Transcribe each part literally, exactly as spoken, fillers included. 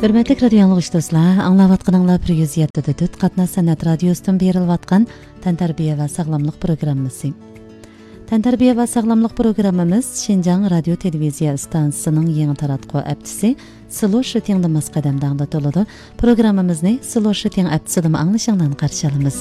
ھۆرمەتلىك رادىيو ئاڭلىغۇچى دوستلار، ئاڭلاۋاتقىنىڭلار بىر يۈز يەتتە دۆت قاتناش سەنئەت رادىيوسىدىن بېرىلىۋاتقان تەنتەربىيە ۋە ساغلاملىق پروگراممىسى. تەنتەربىيە ۋە ساغلاملىق پروگراممىمىز شىنجاڭ رادىيو تېلېۋىزىيە ئىستانسىسىنىڭ يېڭى تاراتقۇ ھەپتىسى سلو شىتىڭدا ماس قەدەمدە ئاڭلىتىلىدۇ. پروگراممىمىزنى سلو شىتىڭ ھەپتىسىدىمۇ ئاڭلىشىڭلارنى قارشى ئالىمىز.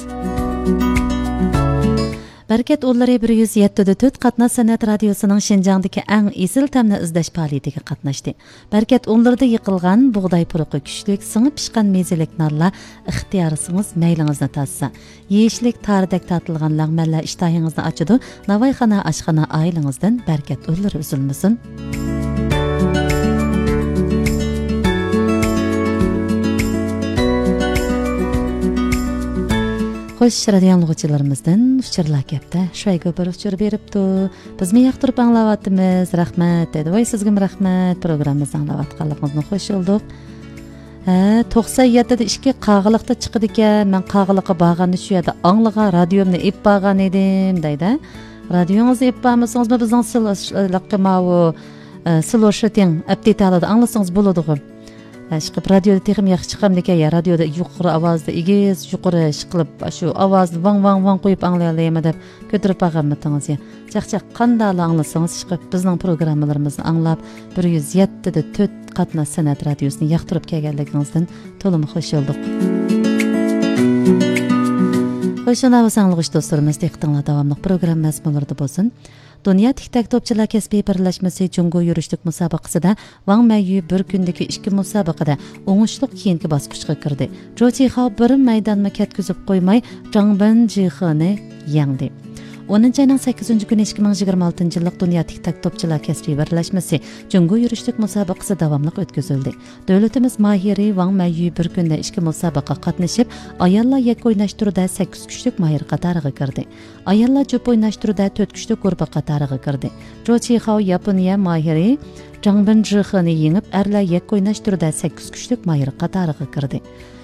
بەرىكەت ئۇللىرى بىر يۈز يەتتە دە تۆت قاتناش سەنئەت رادىيوسىنىڭ شىنجاڭدىكى ئەڭ ئېسىل تەمنى ئىزدەش پائالىيىتىگە قاتناشتى. بەرىكەت ئۇللىرىدا يىقىلغان بۇغداي پۇرىقى كۈچلۈك، سىڭىپ پىشقان مېزىلىك نانلار ئىختىيارىڭىز مەيلىڭىزنى تارتسا، يېيىشلىك تارىدەك تارتىلغان لەڭمەنلەر ئىشتىھىڭىزنى ئاچىدۇ. ناۋايخانا ئاشخانا ئائىلىڭىزدىن بەرىكەت ئۇللىرى ئۈزۈلمىسۇن. خوش، رادىيو ئاڭلىغۇچىلىرىمىزدىن ئۇچۇرلار كەپتە. شۇەيگو بىر ئۇچۇر بېرىپتۇ. بىزمۇ ياقتۇرۇپ ئاڭلاۋاتىمىز. رەھمەت دەيدۇ. ۋاي، سىزگىمۇ رەھمەت. پروگراممىمىزنى ئاڭلاۋاتقانلىقىڭىزدىن خوش بولدۇق. ھە، توقسان يەتتىدە ئىككى قاغىلىقتا چىقىدىكەن. مەن قاغىلىققا بارغاندا شۇ يەردە ئاڭلىغان، رادىيومنى ئېلىپ بارغان ئىدىم، دەيدۇ. رادىيوڭىزنى ئېلىپ بارمىسىڭىزمۇ بىزنىڭ سىلىققا ماۋۇ، ئە، سلو شىتىڭ ئەپتىتالىدا ئاڭلىسىڭىز بولىدىغۇ. ئە، ئىشقىلىپ رادىيودا تېخىمۇ ياخشى چىقامدىكەن يا، رادىيودا يۇقىرى ئاۋازدا ئېگىز، يۇقىرى ئىشقىلىپ شۇ ئاۋازنى ۋاڭ ۋاڭ ۋاڭ قويۇپ ئاڭلىيالايمەن دەپ كۆتۈرۈپ بارغانمىتىڭىز يا. چاقچاق قانداقلا ئاڭلىسىڭىز، ئىشقىلىپ بىزنىڭ پروگراممىلىرىمىزنى ئاڭلاپ، بىر يۈز يەتتە دە تۆت قاتناش سەنئەت رادىيوسىنى ياقتۇرۇپ كەلگەنلىكىڭىزدىن تولىمۇ خوش بولدۇق. خوش، ئاڭلىغۇچى دوستلىرىمىز، دىققىتىڭلار داۋاملىق پروگرامما مەزمۇنلىرىدا بولسۇن. دۇنيا تىك تاك توپچىلار كەسپىي بىرلەشمىسى جۇڭگو يۈرۈشلۈك مۇسابىقىسىدە ۋاڭ مەييۈ بىر كۈندىكى ئىككى مۇسابىقىدە ئوڭۇشلۇق كېيىنكى باسقۇچقا كىردى. جو چىخاۋ بىر مەيدانمۇ كەتكۈزۈپ قويماي، جاڭ بېن جىخېنى يەڭدى. ئونىنچى ئاينىڭ سەككىزىنچى كۈنى ئىككى مىڭ يىگىرمە ئالتىنچى يىللىق دۇنيا تىك تاك توپچىلار كەسپىي بىرلەشمىسى جۇڭگو يۈرۈشلۈك مۇسابىقىسى داۋاملىق ئۆتكۈزۈلدى. دۆلىتىمىز ماھىرى ۋاڭ مەييۈ بىر كۈندە ئىككى مۇسابىقىگە قاتنىشىپ، ئاياللار يەككە ئويناش تۈرىدە سەككىز كۈچلۈك ماھىر قاتارىغا كىردى. ئاياللار جۈپ ئويناش تۈرىدە تۆت كۈچلۈك گۇرۇپپا قاتارىغا كىردى. جو چىخاۋ ياپونىيە ماھىرى جاڭ بېن جىخېنى يېڭىپ، ئەرلەر يەككە ئويناش تۈرىدە سەككىز كۈچلۈك ماھىر قاتارىغا كىردى.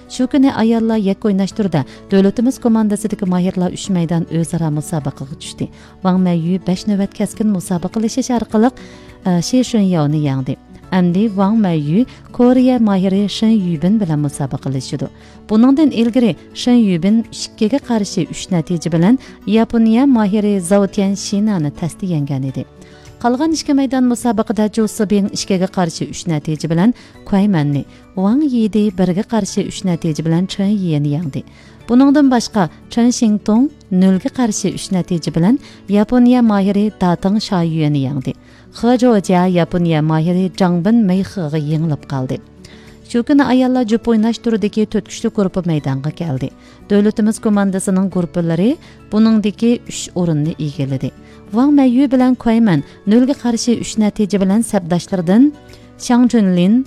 شۇ كۈنى ئاياللار يەككە ئويناش تۈرىدە دۆلىتىمىز كوماندىسىدىكى ماھىرلار ئۈچ مەيدان ئۆزئارا مۇسابىقىگە چۈشتى. ۋاڭ مەييۈ بەش نۆۋەت كەسكىن مۇسابىقىلىشىش ئارقىلىق، ئە، شى شۈنياۋنى يەڭدى. ئەمدى ۋاڭ مەييۈ كورېيە ماھىرى شېن يۈبىن بىلەن مۇسابىقىلىشىدۇ. بۇنىڭدىن ئىلگىرى شېن يۈبىن ئىككىگە قارشى ئۈچ نەتىجە بىلەن ياپونىيە ماھىرى زاۋ تيەن شىنانى تەستە يەڭگەن ئىدى. قالغان ئىككى مەيدان مۇسابىقىدە جۇ سىبىڭ ئىككىگە قارشى ئۈچ نەتىجە بىلەن كۇەيمەننى، ۋاڭ يىدى بىرگە قارشى ئۈچ نەتىجە بىلەن چېن يىنى يەڭدى. بۇنىڭدىن باشقا، چېن شىڭتۇڭ نۆلگە قارشى ئۈچ نەتىجە بىلەن ياپونىيە ماھىرى داتىڭ شايۈەنى يەڭدى. خې جوجيا ياپونىيە ماھىرى جاڭ بېن مېيخېغا يېڭىلىپ قالدى. شۇ كۈنى ئاياللار جۈپ ئويناش تۈرىدىكى تۆت كۈچلۈك گۇرۇپپا مەيدانغا كەلدى. دۆلىتىمىز كوماندىسىنىڭ گۇرۇپپىلىرى بۇنىڭدىكى ئۈچ ئورۇننى ئىگىلىدى. ۋاڭ مەييۈ بىلەن كۇەيمەن نۆلگە قارشى ئۈچ نەتىجە بىلەن سەپداشلىرىدىن شاڭ جۈنلىن،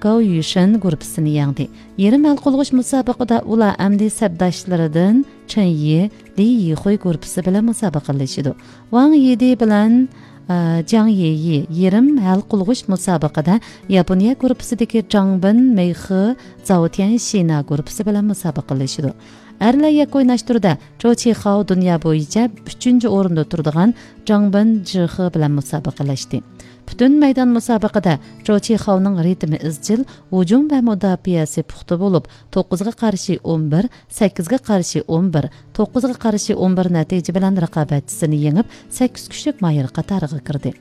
گاۋ يۈشېن گۇرۇپپىسىنى يەڭدى. يېرىم ھەل قىلغۇچ مۇسابىقىدە ئۇلار ئەمدى سەپداشلىرىدىن چېن يى، لى يىخۇي گۇرۇپپىسى بىلەن مۇسابىقىلىشىدۇ. ۋاڭ يىدى بىلەن، ئە، جاڭ يېيى يېرىم ھەل قىلغۇچ مۇسابىقىدە ياپونىيە گۇرۇپپىسىدىكى جاڭ بېن مېيخې، زاۋ تيەن شىنا گۇرۇپپىسى بىلەن مۇسابىقىلىشىدۇ. ئەرلەر يەككە ئويناش تۈرىدە چو چىخاۋ دۇنيا بويىچە ئۈچىنچى ئورۇندا تۇرىدىغان جاڭ بېن جىخې بىلەن مۇسابىقىلەشتى. پۈتۈن مەيدان مۇسابىقىدە چو چىخاۋنىڭ رىتىمى ئىزچىل، ھۇجۇم ۋە مۇداپىئەسى پۇختا بولۇپ، توققۇزغا قارشى ئون بىر، سەككىزگە قارشى ئون بىر، توققۇزغا قارشى ئون بىر نەتىجە بىلەن رىقابەتچىسىنى يېڭىپ، سەككىز كۈچلۈك ماھىر قاتارىغا كىردى.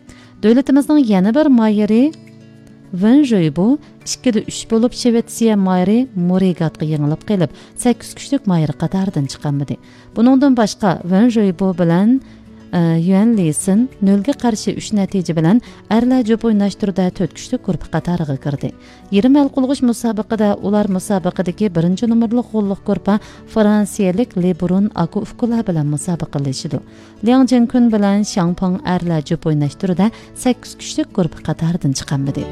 دۆلىتىمىزنىڭ يەنە بىر ماھىرى ۋېن جۈيبۇ ئىككىدە ئۈچ بولۇپ، شىۋېتسىيە ماھىرى مورىگاتقا يېڭىلىپ قېلىپ، سەككىز كۈچلۈك ماھىر قاتارىدىن چىقالمىدى. بۇنىڭدىن باشقا، ۋېن جۈيبۇ بىلەن، ئە، يۈەن لىسىن نۆلگە قارشى ئۈچ نەتىجە بىلەن ئەرلەر جۈپ ئويناش تۈرىدە تۆت كۈچلۈك گۇرۇپپا قاتارىغا كىردى. يېرىم ھەل قىلغۇچ مۇسابىقىدە ئۇلار مۇسابىقىدىكى بىرىنچى نومۇرلۇق غوللۇق گۇرۇپپا فرانسىيەلىك لېبرون ئاكۇفكۇلا بىلەن مۇسابىقىلىشىدۇ. لياڭ جىنكۈن بىلەن شياڭ پاڭ ئەرلەر جۈپ ئويناش تۈرىدە سەككىز كۈچلۈك گۇرۇپپا قاتارىدىن چىقالمىدى.